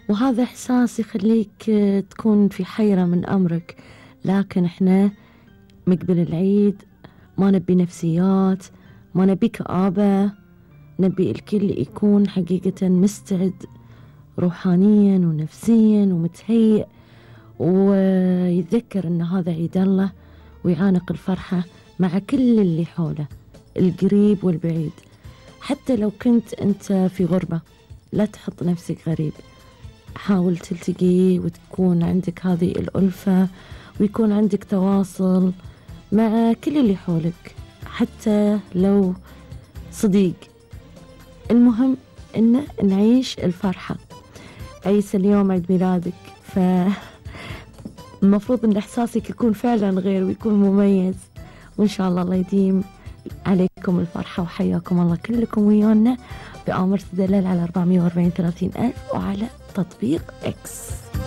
وهذا إحساس يخليك تكون في حيرة من أمرك. لكن إحنا مقبل العيد ما نبي نفسيات، ما نبي كآبة، نبي الكل يكون حقيقة مستعد روحانيا ونفسيا ومتهيئ، ويتذكر أن هذا عيد الله، ويعانق الفرحة مع كل اللي حوله القريب والبعيد. حتى لو كنت أنت في غربة لا تحط نفسك غريب، حاول تلتقي وتكون عندك هذه الألفة، ويكون عندك تواصل مع كل اللي حولك حتى لو صديق. المهم إن نعيش الفرحة. عيسى اليوم عيد ميلادك، فالمفروض إن إحساسك يكون فعلا غير ويكون مميز، وإن شاء الله الله يديم عليكم الفرحة. وحياكم الله كلكم ويانا بآمر تدلل على 440 30 ألف وعلى تطبيق إكس.